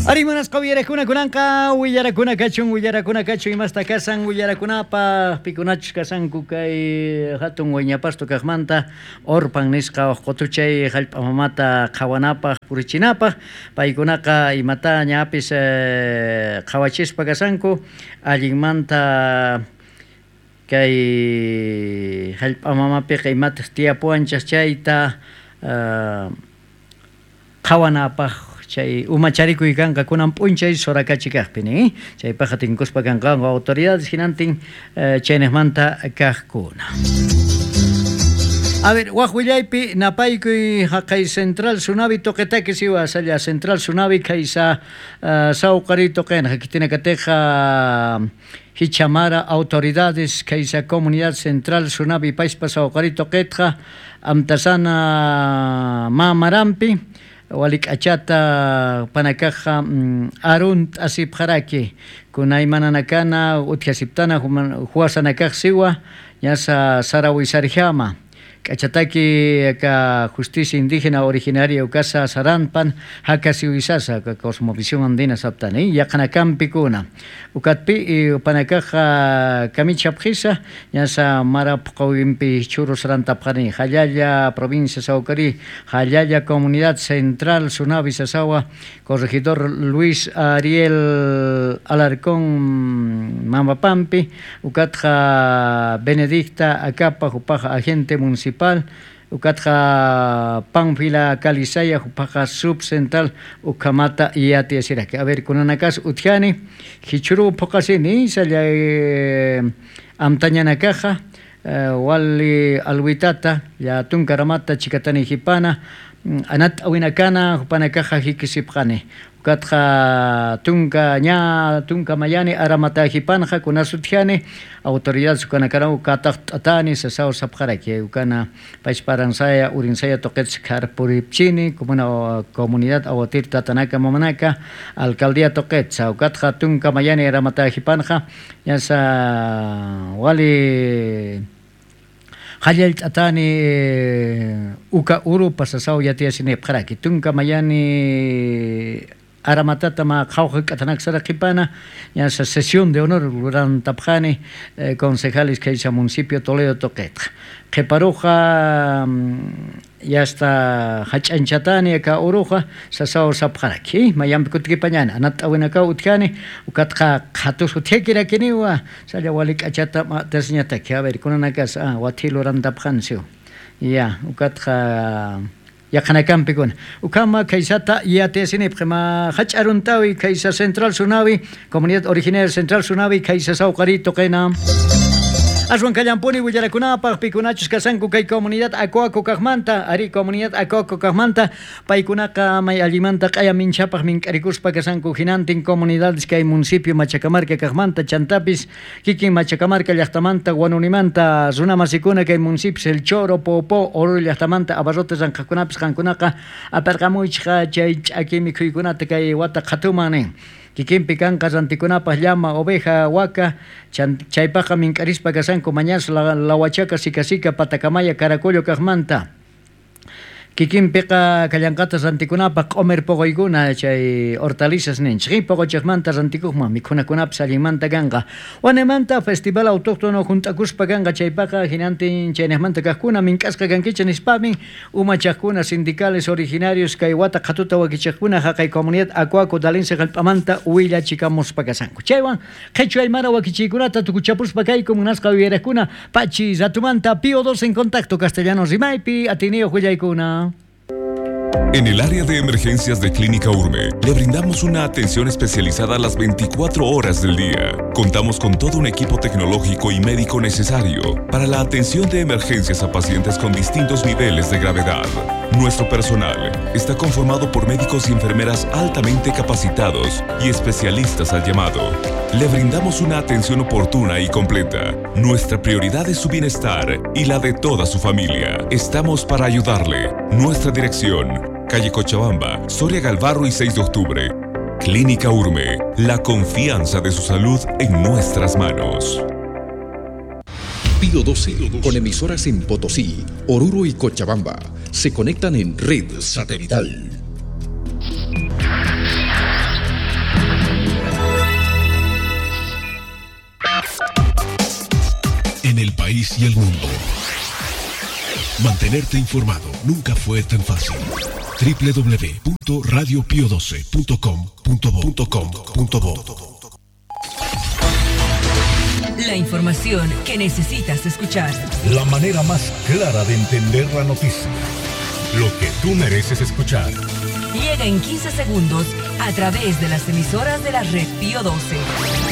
Ari munasqa uyarakuna kunanqa willarakuna kachun, willarakuna kachun imasta kasan willarakunapaq pikunachus kasanku kay hatun Wiñapasto kaqmanta Orpan nisqa uq qutuchay hallp'a mamata qhawanapaq purichinapaq paykunaqa imata ñapis qhawachispa kasanku allinmanta kay hallp'a mamapiqa imataq tiyapuwanchik chayta qhawanapaq chay umacharikuy kanqa kunan p'unchay Sorakachi kaqpi nin, chaypaqqa tinkuspa kanqanku autoridades hinantin chayniqmanta kaqkuna. A ver, waq willaypi napaykuy haqay Central Sunavi toqetaki siwa salla Central Sunavi kaysa sawqari toqena hakitina kateqa hichamara autoridades kaysa comunidad Central Sunavi paispa sawqari toqetqa amtasana mamarampi walik'achata panakaqa arunt asipqaraki kunaymananakana utjasiptana huasanakaq siwa ñasa sarawisarjama k'achataki ka justicia indígena originaria ukasa saranpan hakasiwisasa ka cosmovisión andina saptani yaqanakampikuna ukatpi panakaqa kamichapqisa ñasa marapqawinpi churus rantapqani Jallalla provincia Saucari Jallalla comunidad central Sunavi Sasawa corregidor Luis Ariel Alarcón Mamapampi ukatqa Benedicta Acapa upaqa agente municipal ukatqa Panfila Calisaya upaqa subcentral ukamata yati asiraki. A ver kunanakas utjani hichuru puqasini salla amtañanakaja wali alwitata ya tunkaramata chikatani hipana anat awinakana hupanakaja hikisipqani ukatqa tunka ña tunka mayani aramata hipanja kunasutjani autoridad sukanakara ukataq t'atani sasao sapqaraki ukana paysparansaya urinsaya toqets karpuripchini comuna comunidad awatir tatanaka mamanaka alcaldía toqetsa ukatqa tunka mayani aramata hipanja ñasa wali Jallal t'atani uka uru pasasao yatiasini pqaraki tunka mayani aramatata ma qhawqa k'atanaksara qhipana ñasa sesión de honor rurantapqani concejales kaysa municipio Toledo toqetqa qhiparuqa yasta hach'anchatani ka uruqa sasao sapqaraki mayampi kutikipañana anat awinaka utjani ukatqa qhatus utjakirakiniwa salla wali k'achata ma'tasñataki a ver kunanakas wathilu rantapqansiw ya ukatqa yaqanakampikuna ukama kaysata yatiasinipqa ma hach'aruntawi kaysa Central Sunavi comunidad originaria Central Sunavi kaysa sawqari toqena Aswan kallampuni willarakunapaq pikunachus kasanku kay comunidad Acoaco kaqmanta ari comunidad Acoaco kaqmanta paykunaqa may allimanta q'aya minchapaq mink'arikuspa kasanku hinantin comunidades kay municipio Machacamarca kaqmanta chantapis kikin Machacamarca llaqtamanta Guanunimanta runamasikuna kay municipios El Choro, Popó, Oruro llaqtamanta abarrotes ranqaqkunapis qankunaqa aparqamuychqa chay ch'aki mikhuykunata kay wata qhatuman nin kikinpi kanqa rantikunapaq llama, oveja, waka chaypaqqa mink'arispa kasanku mañas lawachaka, sikasika, patakamaya, caracollo kaqmanta kikinpiqa kallanqata rantikunapaq q'umir poqoykuna chay hortalizas ninchik poqochaqmanta rantikuqman mikhunakunapis allinmanta kanqa wanamanta festival autóctono junt'akuspa kanqa chaypaqa hinantin chayniqmanta kaqkuna mink'asqa kankichik nispamin umachaqkuna sindicales originarios kay wata qhatuta wakichaqkuna haqay comunidad Acoaco Dalinse hallp'amanta willachikamuspa kasanku chaywan qhichwa aymara wakichiykunata tukuchapuspa kayku munasqa uyariqkuna pachi ratumanta Pío 2 en contacto castellano rimaypi atiniyuq willaykuna. En el área de emergencias de Clínica Urme, le brindamos una atención especializada a las 24 horas del día. Contamos con todo un equipo tecnológico y médico necesario para la atención de emergencias a pacientes con distintos niveles de gravedad. Nuestro personal está conformado por médicos y enfermeras altamente capacitados y especialistas al llamado. Le brindamos una atención oportuna y completa. Nuestra prioridad es su bienestar y la de toda su familia. Estamos para ayudarle. Nuestra dirección: calle Cochabamba, Soria Galvarro y 6 de octubre. Clínica Urme, la confianza de su salud en nuestras manos. Pío 12, con emisoras en Potosí, Oruro y Cochabamba, se conectan en red satelital. país y el mundo. Mantenerte informado nunca fue tan fácil. www.radiopio12.com.bo.com.bo. La información que necesitas escuchar. La manera más clara de entender la noticia. Lo que tú mereces escuchar. Llega en 15 segundos a través de las emisoras de la red Pío 12.